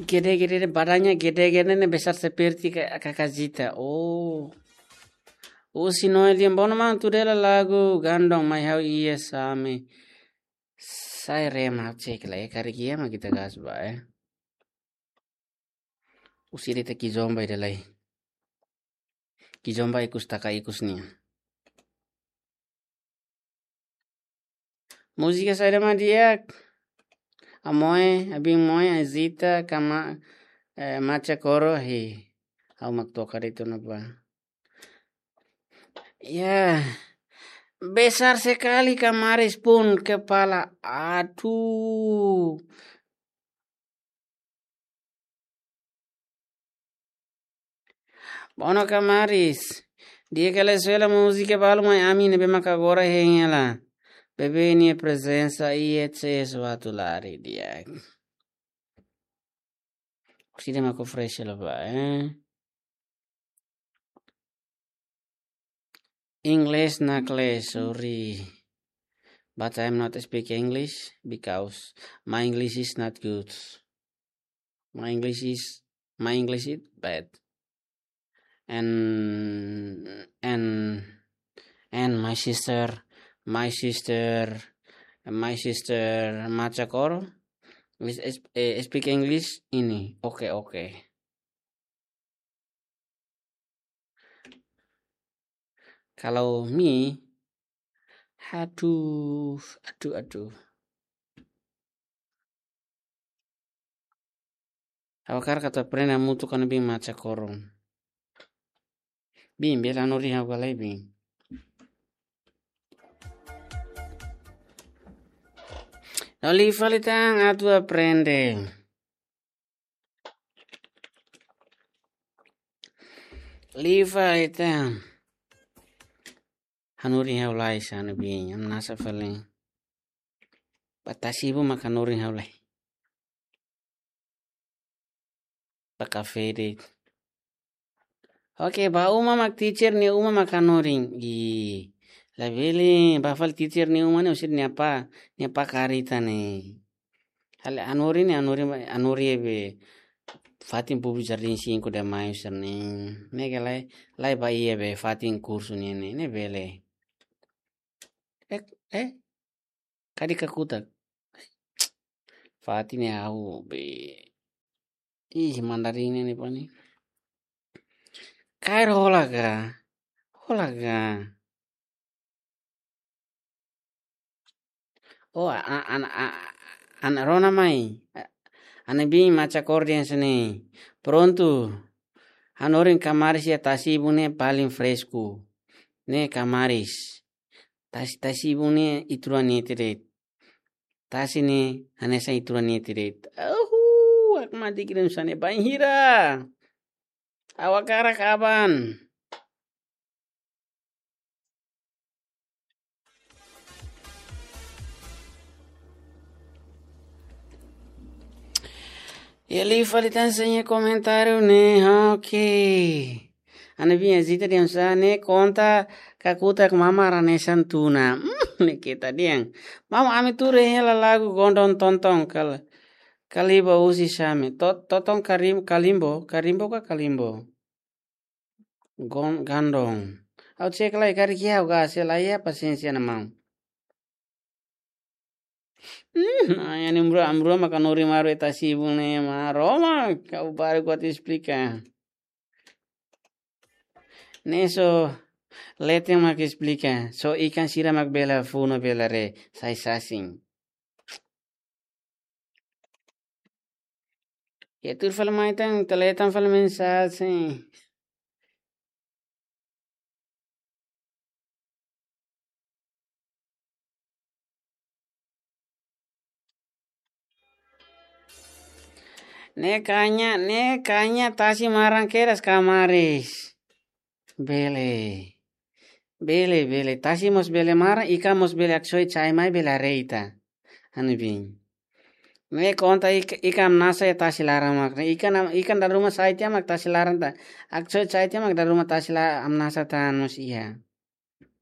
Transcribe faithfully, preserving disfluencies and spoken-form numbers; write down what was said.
Gede, gede, badannya gede, gede ne'e besar seperti ka-, kakak Zita. Oh. Husi Noel Diambono, maun, tuda hela lagu Gandong mai ha'u iha Same. Sai rema cek lai, karik iha mak ita gas ba, eh. Husi ida-ne'e Kizomba ida lai. Kizomba ikus taka ikus nian. Múzika saida mak di'ak? Amoe, Abin Moe, Azita, Kama-, eh, Macha Koro, hi. Ha'u mak toka de'it ona ba. Ya, besar sekali Kamaris pun kepala. Aduh. Bono Kamaris. Di'ak ka lae, sela múzika balu mai ami ne'ebé maka agora hein hela. Bebé nia prezensa iha C S Watulari di'ak. Husi ida mak fresh hela ba, eh. English nakle, sorry. But I'm not speak English because my English is not good. My English is, my English is bad. And, and, and my sister, my sister, my sister Macha Koro is, is, eh, speak English ini. Oke, oke. Kalau mi, aduh, aduh, aduh. Ha'u hakarak atu aprende hamutuk ho Bin Macha Koro. Bin, bele hanorin ha'u ka lae, Bin? No, liu fali tan atu aprende. Liu fali tan. Hanorin ha'u lai sana, Bin, hamnasa fali. Ba tasi-ibun mak hanorin ha'u lai. Ba kafé de'it. Oke, ba uma mak, teacher nia uma mak hanorin. Ih, labele, ba fali teacher nia uma ne'e husi nia apá, nia apá kareta ne'e. Halo hanorin ne'e, hanorin, hanorin be fatin públiku Jardim cinco de Maio sira-ne'e. Ne'e ka lae, lae ba iha be fatin kursu ne'e, ne'e, ne'e bele. Eh, eh, kadi kakutak. Fatin ne'e ha'u be. Ih, Mandarin ne'e, ne'e pani. Kaer hola ka? Hola ka? Oh, a, a, ana, a, ana rona mai. A, ana Bin Macha Koro dehan hanesan ne'e. Prontu. Hanorin Kamaris iha tasi-ibun ne'e paling fresku. Ne'e Kamaris. Tasi, tasi-ibun ne'e ituran ne'e tere. Tasi ne'e hanesan ituran ne'e tere. Ahu, ak mati kirim sane bainhira. Ha'u hakarak aban. Iha liu fali tan sira-nia komentáriu ne'e, oke. Ana Bin, Azita dehan hanesan ne'e, konta kakutak mamar hanesan tuna. Hmm, ne'e keta dehan. Maun, ami tuur hela lagu Gondong Tontong kal-, Kalimbo husi Same. To-, Tontong Karim-, Kalimbo, Karimbo ka Kalimbo? Gon-, Gandong. Ha'u cek lai, karik iha ha'u gas hela, iha pasiénsia ona maun. Hmm, ai, ne'e mrua, mrua maka hanorin malu iha tasi-ibun ne'e, maromak, ha'u baru kuat esplika. Ne'e só leten mak esplika, só ikan sira mak bele funu, bele haree, sai sasin. Ya, tuur fali mai tan, ita lee tan fali mensajen. Ne'e kanya, ne'e kanya tasi maran kedas Kamaris. Bele. Bele, bele. Tasi mós bele maran, ikan mós bele haksoit sai mai bele haree ita. Ana Bin. Ne'e konta ik-, ikan hamnasa iha tasi laran mak. Ikan am-, ikan dala ruma sai tiha mak tasi laran ta. Haksoit sai tiha mak dala ruma tasi la-, hamnasa tan mós iha.